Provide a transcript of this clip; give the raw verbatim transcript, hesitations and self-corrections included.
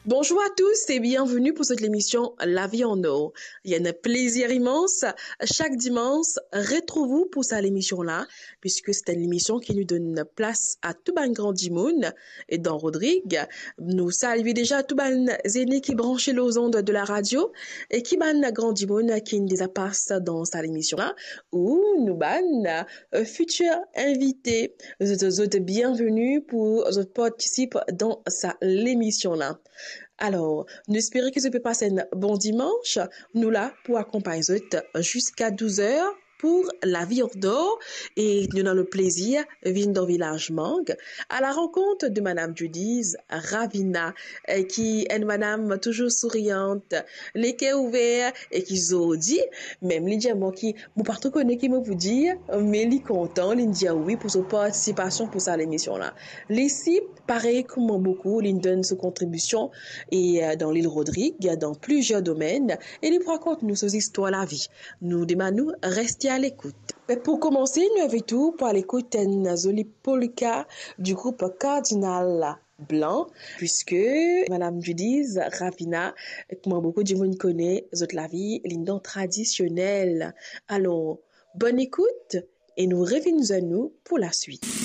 Bonjour à tous et bienvenue pour cette émission La vie en or. Il y a un plaisir immense chaque dimanche retrouve vous pour cette émission-là, puisque c'est une émission qui nous donne place à tout bann gran dimoun. Et dans Rodrigue, nous saluons déjà tout bann zeni ki branche aux ondes de la radio et ki bann gran dimoun ki déjà passe dans cette émission-là, ou nou bann euh, futur invité. Zot, zot bienvenue pour zot participation dans cette émission-là. Alors, nou espere ki zot pe pas un bon dimanche. Nou la pou akonpagn zot jusqu'à douze heures pour La vie en or et nous avons le plaisir vinn dan vilaz Mang à la rencontre de Madame Judiz Ravina, euh, ki enn madam toujours souriante, leker ouver e ki zordi, mem li dir mwa ki mo pa tro kone ki mo pou dir, me li kontan, li dir wi pour son participation pour cette émission-là. Li si, parey kouma boukou, li donn son kontribision e euh, dan lil Rodrigue, dans plusieurs domaines, e li pou rakont nou so zistwar lavi. Nou demann ou reste à l'écoute. Me pou komanse, nou invit ou pou al ekout enn zoli polka du group Cardinal Blanc, puisque Madame Judiz Ravina, kouma boukou dimoun kone, zot lavi li dan tradisionel. Alors, bonne écoute e nou revinn zwenn ou pour la suite.